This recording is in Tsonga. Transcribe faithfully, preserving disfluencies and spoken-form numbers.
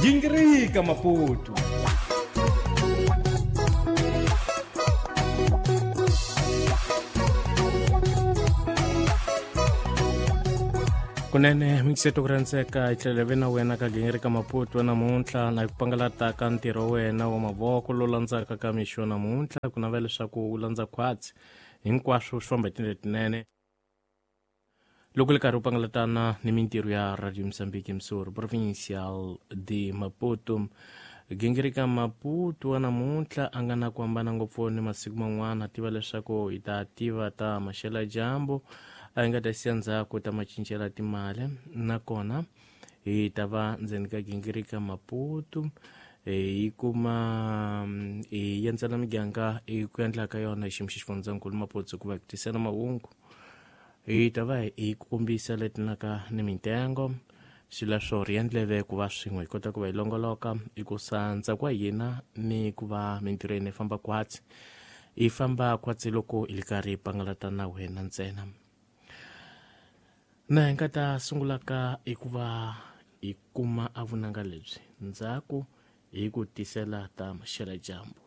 Gingirika Maputo. Kunene mikiseto ku rhandzeka hi tlhela ve na wena ka Gingirika Maputo namuntlha na ku pangalata ka ntirho wa wena wa mavoko lowu landzaka ka mixo namuntlha ku navela leswaku wu landza khwatsi hinkwaswo swi famba hi tindlela tinene loko li karhi u pangalatana ni mintirho ya Radio Mozambique Msuri Provincial de Maputo. Gingirika Maputo wa namuntlha a nga na ku hambana ngopfu ni masiku man'wana, tiva leswaku hi ta tiva ta maxela dyambu a hi nga ta siya ndzhaku ta macincela timali, nakona hi ta va ndzeni ka Gingirika Maputo hi kuma hi endzela miganga hi ku endla ka yona hi xiyimo xa xifundzankulu Maputo ku va ku tisela mahungu. Hi ta va hi ku kombisa leti naka ni mitengo swileswo ri endleve ku va swin'we hi kota ku va hi longoloka hi ku sandza kwa hina ni ku va mintirho yi famba khwatsi yi famba khwatsi loko hi li karhi hi pangalata na wena ntsena. Na hi nga ta sungula ka hi ku va hi kuma a vunanga lebyi ndzhaku hi ku tisela ta maxela dyambu.